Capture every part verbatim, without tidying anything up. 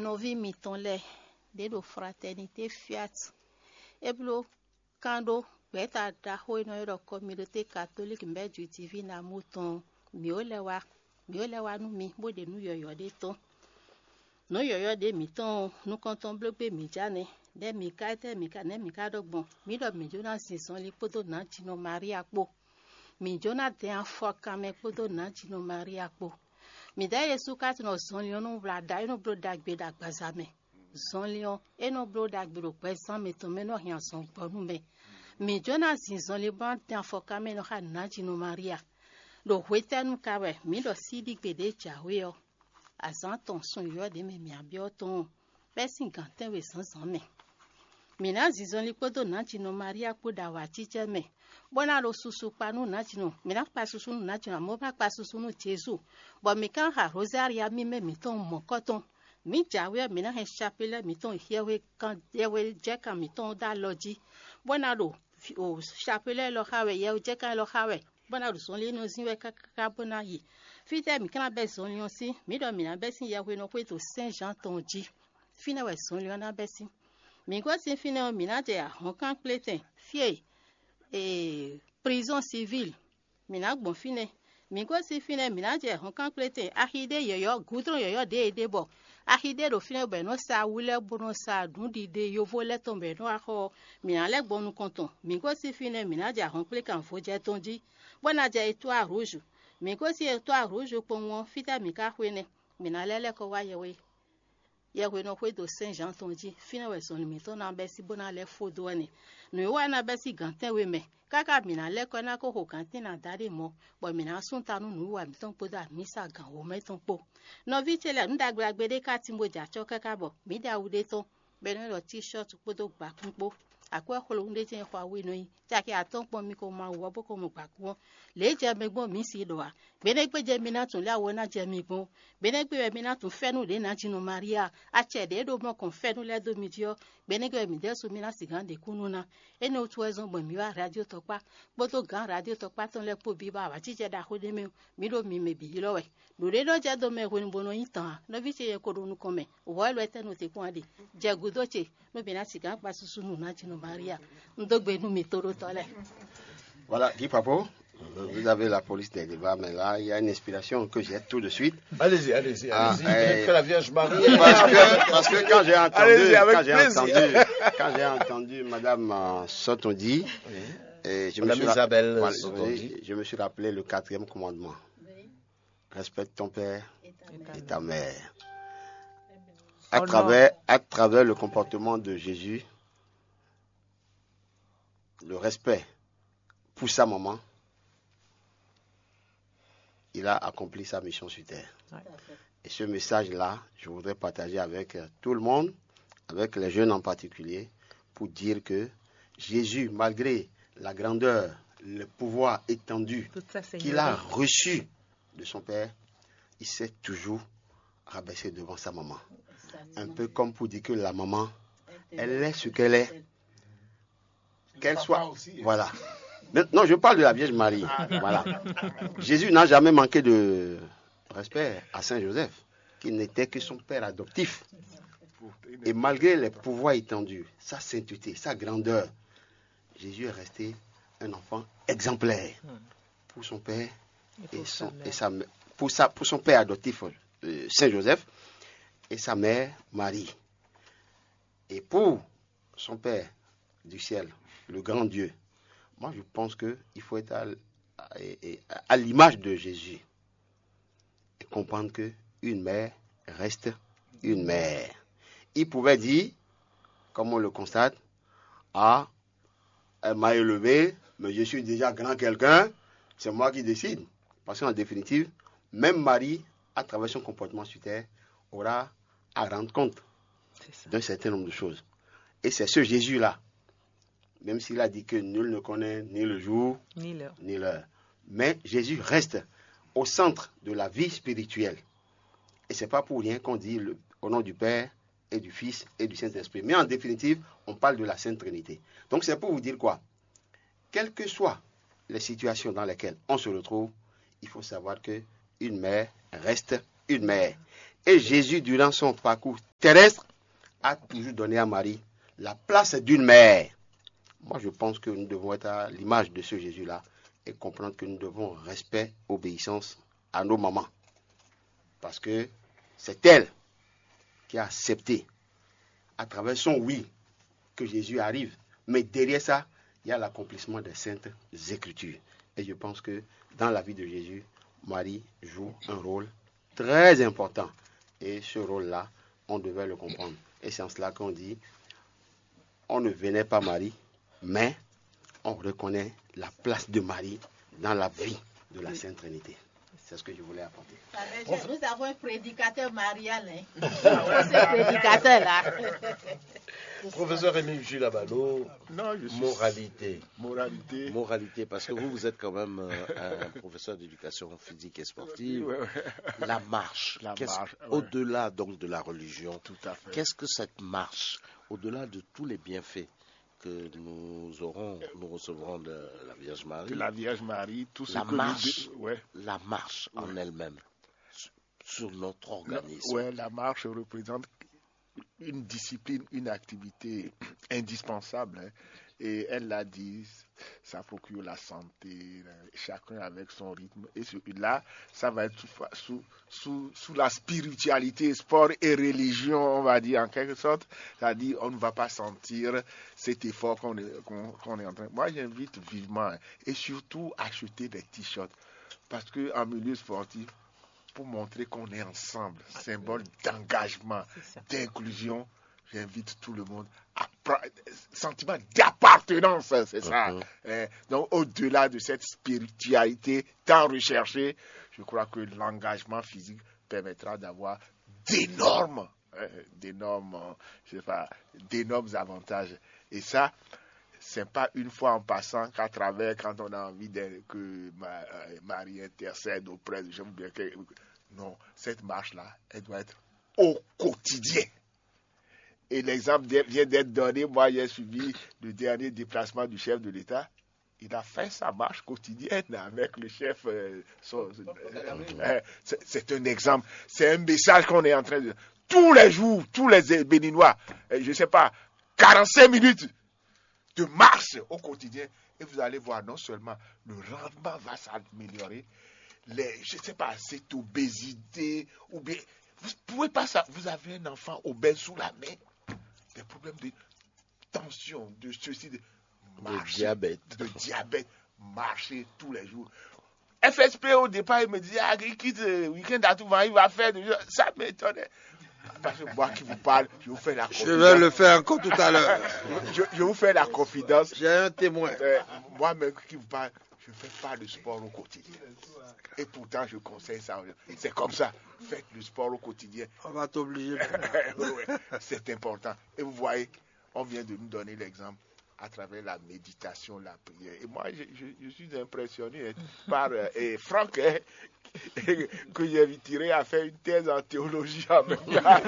Nɔví mitɔn lɛ́ɛ, ɖě ɖo Fraternité Fiat é bló kán ɖó gbɛ̌ta ɖaxó e nɔ ylɔ́ ɖɔ Communauté Catholique Mère du Divin Amour tɔn ɔ́, mǐ ó lɛ́ wá, mǐ ó lɛ́ wá nú mi bó ɖe nǔ yɔ̌yɔ́ ɖé tɔn. Nǔ yɔ̌yɔ́ ɖě mǐtɔn ɔ́, nukɔntɔn bló gbé mǐ ja nɛ́. Nɛ̌ mǐ ka, étɛ́ mǐ ka, nɛ̌ mǐ ka ɖɔ gbɔn? Mǐ ɖɔ mǐ jó ná zin zɔnlin kpódó nǎjinɔ Maria kpó. Mǐ jó ná dɛn afɔkanmɛ kpódó nǎjinɔ Maria kpó. Mǐdɛɛ Jezu ka tunɔ zɔnlin ɔ́ nú wlǎ ɖa e nɔ bló ɖagbe ɖo agbaza mɛ. Zɔnlin ɔ́, é nɔ bló ɖagbe ɖo gbɛzán mǐtɔn mɛ nɔ hɛn azɔn gbɔ nú mɛ. Mǐ jó ná zin zɔnlin bó ná dɛn afɔkanmɛ nɔ xá nǎjinɔ Maria. Ɖo hwetɛ́nu ka wɛ mǐ ɖɔ síɖígbe ɖě jǎwe ɔ́, azǎn tɔn sun yɔ̌yɔ́ ɖě mɛ mǐ byɔ́ tɔn ɔ́, bɛ́ sín gǎn tɛ́nwe zǎnzǎn mɛ? Mǐ ná zinzɔnlin kpódó nǎjinɔ Maria kpó ɖo awǎjijɛ mɛ, bó ná ɖo susu kpa nú nǎjinɔ. Mǐ ná kpa susu nú nǎjinɔ, amɔ̌ bó ná kpa susu nú Jezu, bɔ mǐ ka ná xa Rozária mímɛ́ mǐtɔn mɔ̌kɔ́tɔn. Mǐ jǎwe ɔ́, mǐ ná hɛn capelɛ́ mǐtɔn yɛhwe kan yɛhwe jɛ́kan mǐtɔn dó alɔ jí, bó ná ɖo o capelɛ́ élɔ́ xa wɛ, yɛhwe jɛ́kan élɔ́ xa wɛ, bó ná ɖo zɔnlin e nɔ zín wɛ káká bó ná yi. Fítɛ́ mǐ ka ná bɛ́ zɔnlin ɔ́ sín? Mǐ ɖɔ mǐ ná bɛ́ sín yɛhwenɔxwé ɖo Sɛ́n Zǎn tɔn jí. Fínɛ́ wɛ zɔnlin ɔ́ ná bɛ́ sín. Mǐ gosín fínɛ́ ɔ́, mǐ ná jɛ ahɔ̌nkankplétɛn fí e ee, prizɔ́n sivíl. Mǐ ná gbɔn fínɛ́. Mǐ gosín fínɛ́, mǐ ná jɛ hɔnkankplétɛn axi ɖé yɔ̌yɔ́, gǔdlɔ́n yɔ̌yɔ́ ɖě e ɖe bɔ axi ɖé ɖo fínɛ́ bɔ è nɔ́ sa awu lɛ́ɛ bó nɔ́ sa nǔɖiɖe yovo lɛ́ɛ tɔn bɔ è nɔ́ wá xɔ ɔ́, mǐ ná lɛ́ gbɔn nukɔn tɔn. Mǐ gosín fínɛ́, mǐ ná jɛ ahɔ̌nkplékan vojɛ tɔn jí, bó ná jɛ Etwáa Rouge. Mǐ gosín Etwáa Rouge kpowun ɔ́, fítɛ́ mǐ ka xwe nɛ́? Mǐ ná lɛ́ lɛ́ kɔ wá yɛhwe yɛhwenɔxwé ɖo Sɛ́n Zǎn tɔn jí. Fínɛ́ wɛ zɔnlin mǐtɔn ná bɛ́ sí bó ná lɛ́ fó dó wɛ nɛ́. Nǔwiwa ná bɛ́ sí gǎn tɛ́nwe mɛ, káká mǐ ná lɛ́ kɔ ná kó xo gǎn tɛ́nwe ná dó alí mɔ̌, bɔ mǐ ná sú ta nú nǔwiwa mǐtɔn kpódó amǐsa gǎn wǒ mɛ tɔn kpó. Nɔví ce lɛ́ɛ, nǔ ɖagbe ɖagbe ɖé ka tín bó jɛ acɔ́ káká bɔ mǐ ɖe awu ɖé tɔn, bɔ è nɔ ɖɔ tíshɔ́t kpódó gbakún kpó. Akwɛ́ xwlowún ɖé jɛ́n xɔ awu e nɔ nyi caki atɔ́ɔ́n kpɔ́n mì ko ma wǔ ɔ́ bó ko mɔ gbǎkún ɔ́. Lě e jɛ mɛ gbɔn mǐ si ɖɔ ǎ. Gbenɛ́gbé jɛ mi ná tunwun lě awɔ ná jɛ mi gbɔn. Gbenɛ́gbé wɛ mi ná tunwun fɛ́nú ɖě ná ji nɔ Maria. Acɛ ɖě ɖo mɔ kɔn fɛ́nú lɛ́ɛ dó mi jí ɔ́, gbenɛ́gbé wɛ midɛɛ su mi ná sixú ɖe kúnnu ná. Énɛ́ wútu wɛ zɔ́n gbɔn mǐ wá radio tɔkpá kpódó gǎn radio tɔkpá tɔn lɛ́ɛ kpó bǐ bɔ awǎjijɛ ɖaxó ɖé mɛ ɔ́, mǐ ɖo mi mɛ bǐ ylɔ́ wɛ. Ɖo ɖé nɔ jɛ dó mɛ hwenu bó nɔ nyí tàn ǎ. Nɔví ce yɛ ko ɖo nukɔn mɛ, wɔ élɔ́ etɛ́ nɔ te kpɔ́n a ɖe? Jɛ gǔdo ce, nú mǐ ná sixú kpa susu nú ná ji nɔ Maria. Un dó gbe nú mi toɖótɔ́ lɛ́ɛ. Voilà, Guy Papo, vous avez la police des débats, mais là, il y a une inspiration que j'ai tout de suite. Allez-y, allez-y, Ah, allez-y. eh, Que la Vierge Marie. Parce que, parce que quand j'ai entendu, Allez-y, avec quand j'ai plaisir. entendu, quand j'ai entendu Madame euh, Sotondi, Oui. et je me Madame suis ra- Isabelle voilà, Sotondi. oui, je me suis rappelé le quatrième commandement. Respecte ton père et ta mère. À Honore. travers, à travers le comportement de Jésus, le respect pour sa maman, il a accompli sa mission sur terre. Ouais. Et ce message-là, je voudrais partager avec euh, tout le monde, avec les jeunes en particulier, pour dire que Jésus, malgré la grandeur, le pouvoir étendu Toute sa qu'il a seigneurie. reçu de son Père, il s'est toujours rabaissé devant sa maman. Un peu comme pour dire que la maman, elle est ce qu'elle est. Qu'elle soit. Voilà. Mais non, je parle de la Vierge Marie. Voilà. Jésus n'a jamais manqué de respect à Saint Joseph, qui n'était que son père adoptif. Et malgré les pouvoirs étendus, sa sainteté, sa grandeur, Jésus est resté un enfant exemplaire pour son père Et et, pour son, sa mère. et sa mè- pour, sa, pour son père adoptif, euh, Saint Joseph, et sa mère Marie. Et pour son Père du ciel, le grand Dieu, moi je pense qu'il faut être à, à- à l'image de Jésus et comprendre que une mère reste une mère. Il pouvait dire, comme on le constate, ah, elle m'a élevé, mais je suis déjà grand quelqu'un, c'est moi qui décide. Parce qu'en définitive, même Marie, à travers son comportement sur terre, aura à rendre compte C'est ça. d'un certain nombre de choses. Et c'est ce Jésus-là, même s'il a dit que nul ne connaît ni le jour, Ni l'heure. ni l'heure. Mais Jésus reste au centre de la vie spirituelle. Et c'est pas pour rien qu'on dit le- au nom du Père et du Fils et du Saint-Esprit. Mais en définitive, on parle de la Sainte Trinité. Donc c'est pour vous dire quoi? Quelles que soient les situations dans lesquelles on se retrouve, il faut savoir que une mère reste une mère. Et Jésus, durant son parcours terrestre a toujours donné à Marie la place d'une mère. Moi, je pense que nous devons être à l'image de ce Jésus-là et comprendre que nous devons respect, obéissance à nos mamans. Parce que c'est elle qui a accepté, à travers son oui, que Jésus arrive. Mais derrière ça, il y a l'accomplissement des saintes écritures. Et je pense que dans la vie de Jésus, Marie joue un rôle très important. Et ce rôle-là, on devait le comprendre. Et c'est en cela qu'on dit, on ne vénère pas Marie, mais on reconnaît la place de Marie dans la vie de la Sainte Trinité. C'est ce que je voulais apporter. Nous avons un prédicateur marial, hein. C'est ce prédicateur-là. Professeur Rémi Jules Abalo, Non, je suis moralité. Moralité. Moralité, parce que vous, vous êtes quand même euh, un professeur d'éducation physique et sportive. Ouais, ouais. La marche, La qu'est-ce- marche, ouais. Au-delà donc de la religion, Tout à fait. Qu'est-ce que cette marche, au-delà de tous les bienfaits que nous aurons, nous recevrons de la Vierge Marie, Que la Vierge Marie, tout ce La que marche. nous... dé- Ouais. La marche en elle-même, sur- sur notre organisme. Ouais, la marche représente une discipline, une activité indispensable, hein. Et elle l'a dit, ça procure la santé, chacun avec son rythme. Et sur- là, ça va être sous, sous, sous, sous la spiritualité, sport et religion, on va dire en quelque sorte. C'est-à-dire, on ne va pas sentir cet effort qu'on est, qu'on- qu'on est en train. Moi, j'invite vivement, hein, et surtout acheter des t-shirts. Parce qu'en milieu sportif, pour montrer qu'on est ensemble, symbole d'engagement, d'inclusion, j'invite tout le monde à prendre sentiment d'appartenance, c'est ça. Hein. Donc, au-delà de cette spiritualité tant recherchée, je crois que l'engagement physique permettra d'avoir d'énormes, euh, d'énormes, euh, je sais pas, d'énormes avantages. Et ça, c'est pas une fois en passant qu'à travers, quand on a envie de- que Ma- euh, Marie intercède auprès de... J'aime bien que... Non, cette marche-là, elle doit être au quotidien. Et l'exemple de- vient d'être donné. Moi, j'ai suivi le dernier déplacement du chef de l'État. Il a fait sa marche quotidienne avec le chef. Euh, son- euh, c'est c'est un exemple. C'est un message qu'on est en train de... Tous les jours, tous les Béninois, euh, je sais pas, quarante-cinq minutes de marche au quotidien. Et vous allez voir, non seulement le rendement va s'améliorer, les, je sais pas, cette obésité, ou bien, vous pouvez pas ça, vous avez un enfant obèse sous la main, des problèmes de tension, de ceci, de, marcher, diabète. De diabète, marcher tous les jours. F S P au départ, il me disait, ah, il quitte le week-end à tout vent, il va faire des... Ça m'étonnait. Parce que moi qui vous parle, je vous fais la Je confidence. vais le faire encore tout à l'heure. Je, je vous fais la confidence. J'ai un témoin. Euh, moi-même qui vous parle, je ne fais pas de sport au quotidien. Et pourtant, je conseille ça. C'est comme ça. Faites le sport au quotidien. On va t'obliger. Ouais, c'est important. Et vous voyez, on vient de nous donner l'exemple à travers la méditation, la prière. Et moi, je, je- je suis impressionné, hein, par euh, et Franck, hein, que j'ai tiré à faire une thèse en théologie en même temps.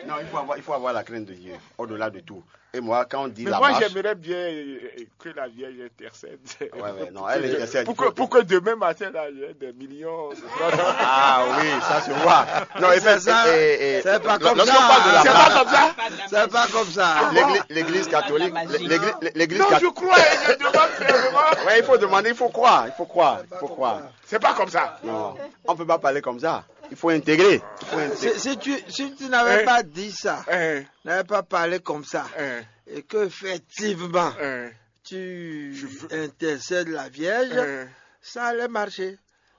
Non, il faut avoir, il faut avoir la crainte de Dieu, au-delà de tout. Et moi, quand on dit Mais la moi, marche, j'aimerais bien euh, que la Vierge intercède. Ouais, ouais, non, elle intercède. Pour que, pour que demain matin, là, il y ait des millions de... Ah oui, ça se voit. Non, et C'est ça. et- et- C'est pas comme lorsqu'on ça. parle de la C'est marche, pas comme ça. C'est pas comme ça. l'église- l'église catholique, La magie. l'église, l'église Non, cat- je crois, je demande fermement. Ouais, il faut demander, il faut croire, il faut croire, il faut croire. C'est pas comme ça. Non, on peut pas parler comme ça. Il faut intégrer. Il faut intégrer. Si, si tu, si tu n'avais Eh. pas dit ça, Hein, n'avais pas parlé comme ça, hein, et qu'effectivement, hein, tu Je veux- intercèdes la Vierge, hein. Ça allait marcher.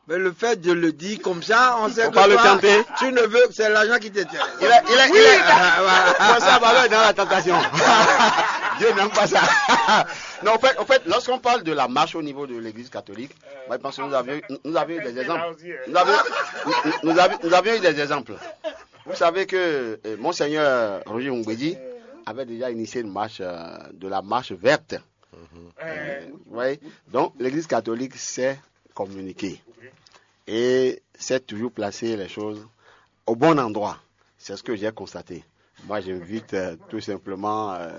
Mais le fait de le dire comme ça, on sait Faut que pas le toi, tenter. Tu ne veux, c'est l'argent qui t'intéresse. Il est, il est, il est. Ah, voilà. François Ballon est dans la tentation. Dieu n'aime pas ça. Non, en fait, en fait, lorsqu'on parle de la marche au niveau de l'église catholique, moi, je pense que nous avions, nous avions eu des exemples. Nous avions, nous, nous avions, nous avions eu des exemples. Vous savez que euh, Monseigneur Roger Mumbedi avait déjà initié une marche, euh, de la marche verte. Euh, vous voyez. Donc, l'église catholique sait communiquer et sait toujours placer les choses au bon endroit. C'est ce que j'ai constaté. Moi, j'invite euh, tout simplement euh,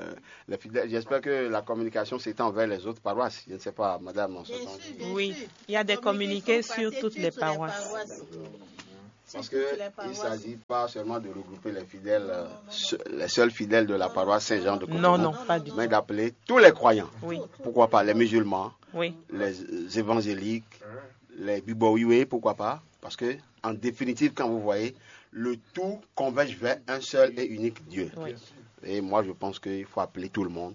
les fidèles. J'espère que la communication s'étend vers les autres paroisses. Je ne sais pas, madame. En ce sens. Oui, il y a des communiqués sur toutes les paroisses. Parce qu'il ne s'agit pas seulement de regrouper les fidèles, euh, se- les seuls fidèles de la paroisse Saint-Jean de Cotonou, non, non, pas du tout, mais d'appeler tous les croyants. Oui. Pourquoi pas les musulmans, oui, les évangéliques, les bibowiwe, pourquoi pas? Parce que, en définitive, quand vous voyez, le tout converge vers un seul et unique Dieu. Oui. Et moi, je pense qu'il faut appeler tout le monde,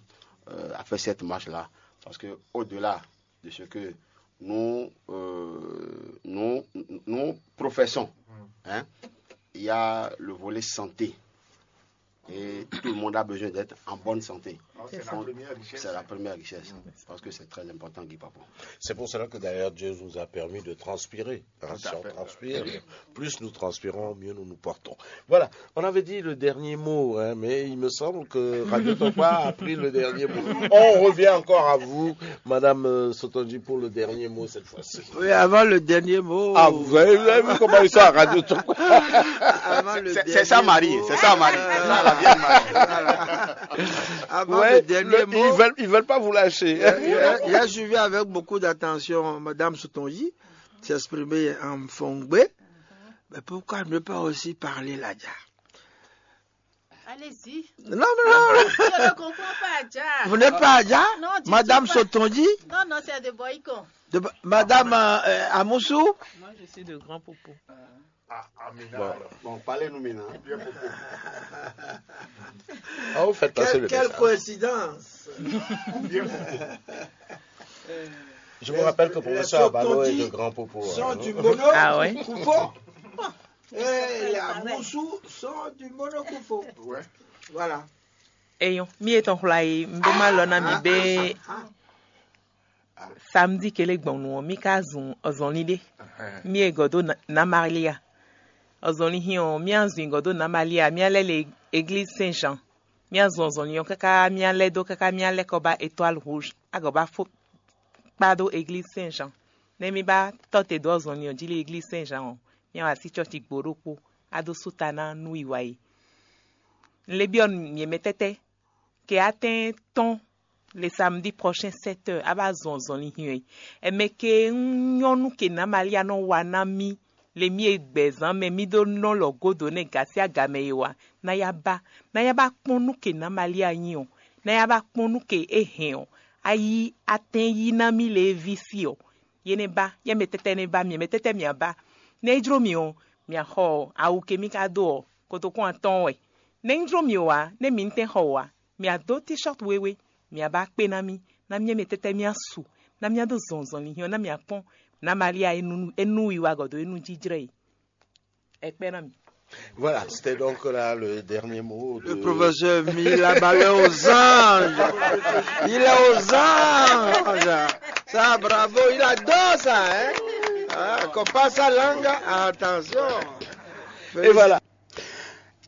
euh, à faire cette marche-là. Parce que au-delà de ce que nous, euh, nous, nous professons, hein, il y a le volet santé. Et tout le monde a besoin d'être en bonne santé. Donc, c'est la première richesse. Parce que c'est très important, Guy Papo. C'est pour cela que d'ailleurs Dieu nous a permis de transpirer. Hein, si on transpire, plus nous transpirons, mieux nous nous portons. Voilà, on avait dit le dernier mot, hein, mais il me semble que Radio Topa a pris le dernier mot. On revient encore à vous, Madame, euh, Sotonji, pour le dernier mot cette fois-ci. Oui, avant le dernier mot. Ah, vous avez, vous avez vu comment ils sont à Radio Topa? Avant le C'est c'est ça, dernier Marie, mot, c'est ça, Marie. C'est ça, la vieille Marie. Voilà. Avant Ouais, le dernier le- mot, ils veulent, ils veulent pas vous lâcher. J'ai j'ai- j'ai suivi avec beaucoup d'attention Madame Sotonji s'exprimer en Fongbe. Mais pourquoi ne pas aussi parler Ladja? Allez-y. Non, mais non, Je ne comprends pas, Adja. Vous n'êtes pas Adja? Non, du Madame tout pas. Sotonji? Non, non, c'est de Boycon. De- Madame euh, euh, Amoussou? Moi, je suis de Grand Popo. Bon, bon, parlez-nous maintenant. Ah, vous faites passer le message. Quelle coïncidence. Je vous rappelle que professeur Abalo est de Grand Popo. Sont Hein. Du mono Ah ouais. Koufo. Et les Amoussou sont du mono Koufo. Voilà. Eyɔn, mi etɔn xwla yi, n bɛ ma lɔ na mi bɛ samedi kele gbɔn nu ɔ, mi ka zun ɔzɔnli ɖe. Mi e gɔdo na Maria. Ɔzɔnli hin ɔ, mi azun gɔdo na Maria, mi alɛ le église Saint Jean. Mi azun ɔzɔnli ɔ kaka mi alɛ do kaka mi alɛ kɔ ba Étoile Rouge. Agɔ ba fo kpa ɖó église Saint Jean. Nɛ mi ba tɔ te dó ɔzɔnli ɔ jí le église Saint Jean ɔ, mi awa sí cɔci gbo ɖokpo, ado suta na nú iwa yi. N le byɔ nyɛ mɛ tɛtɛ ke atɛn tɔn le samedi prochain sept heures a ba zɔn ɔzɔnli hin ɛ. Ɛmɛ ke un nyɔnu ke na Maria nɔ wa na mi le mi e gbɛzan mɛ mi ɖó nɔ lɔ godo nɛ gasi agamɛ e wa na ya ba na ya ba kpɔn nu ke na Maria nyi ɔ, na ya ba kpɔn nu ke e hɛn ɔ, a yi atɛn yi na mi le e vi si ɔ. Ye nɛ ba, yɛ mɛ tɛtɛ nɛ ba, miɛ mɛ tɛtɛ mia ba. Nɛ e jló mi ɔ, mia xɔ awu ke mi ka dó ɔ, kotokún atɔn wɛ. Nɛ e jló mi ɔ wá, nɛ mi tɛn xɔ wá, mia dó t-shirt wewe, mia ba kpé na mi, na miɛ mɛ tɛtɛ mia su, na mia dó zɔnzɔn linhyɔn na mia kpɔn, na Maria e nu e nu wiwa gɔdo e nu jijlɛ yi. Ɛ kpɛ na mi. Voilà, c'était donc là le dernier mot. Le professeur Mila Balé aux anges. Il est aux anges. Ça, bravo, il adore ça, hein. Ah, qu'on passe sa langue, attention. Et voilà.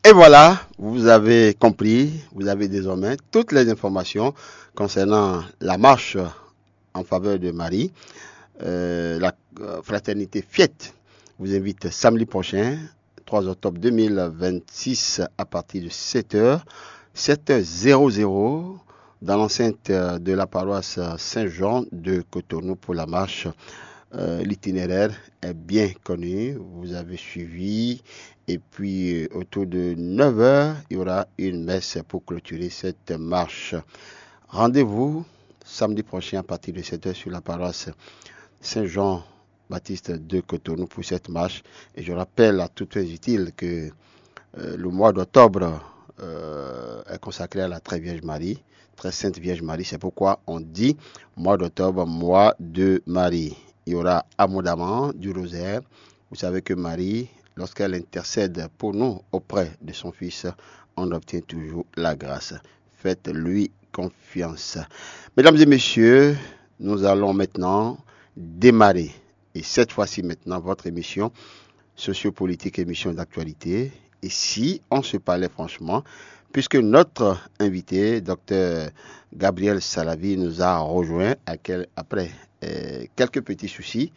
Et voilà, vous avez compris, vous avez désormais toutes les informations concernant la marche en faveur de Marie. Euh, la euh, fraternité Fiette vous invite samedi prochain, trois octobre deux mille vingt-six, à partir de sept heures, sept heures zéro zéro, dans l'enceinte euh, de la paroisse Saint-Jean de Cotonou pour la marche. Euh, l'itinéraire est bien connu, vous avez suivi. Et puis, euh, autour de neuf heures, il y aura une messe pour clôturer cette marche. Rendez-vous samedi prochain à partir de sept heures sur la paroisse Saint-Jean-Baptiste de Cotonou pour cette marche. Et je rappelle à tous les utiles que euh, le mois d'octobre euh, est consacré à la Très Vierge Marie, Très Sainte Vierge Marie. C'est pourquoi on dit mois d'octobre, mois de Marie. Il y aura abondamment du rosaire. Vous savez que Marie, lorsqu'elle intercède pour nous auprès de son Fils, on obtient toujours la grâce. Faites-lui confiance. Mesdames et messieurs, nous allons maintenant démarrer. Et cette fois-ci maintenant, votre émission sociopolitique, émission d'actualité. Et si on se parlait franchement, puisque notre invité, docteur Gabriel Salavi, nous a rejoint après euh, quelques petits soucis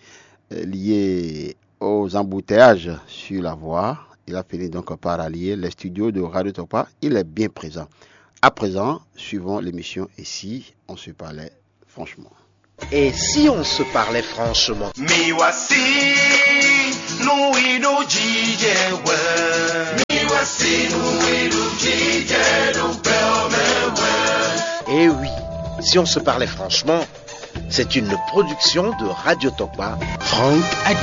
euh, liés aux embouteillages sur la voie. Il a fini donc par allier les studios de Radio Topa. Il est bien présent. À présent, suivons l'émission Et si on se parlait franchement. Et si on se parlait franchement? Mais voici, Nú i ɖo jijɛ hwɛ. Mi wá sí nú i ɖo jijɛ ɖo gbɛ ɔ́ mɛ hwɛ. Eh oui, si on se parlait franchement, c'est une production de Radio Tokpa. Franck Adé.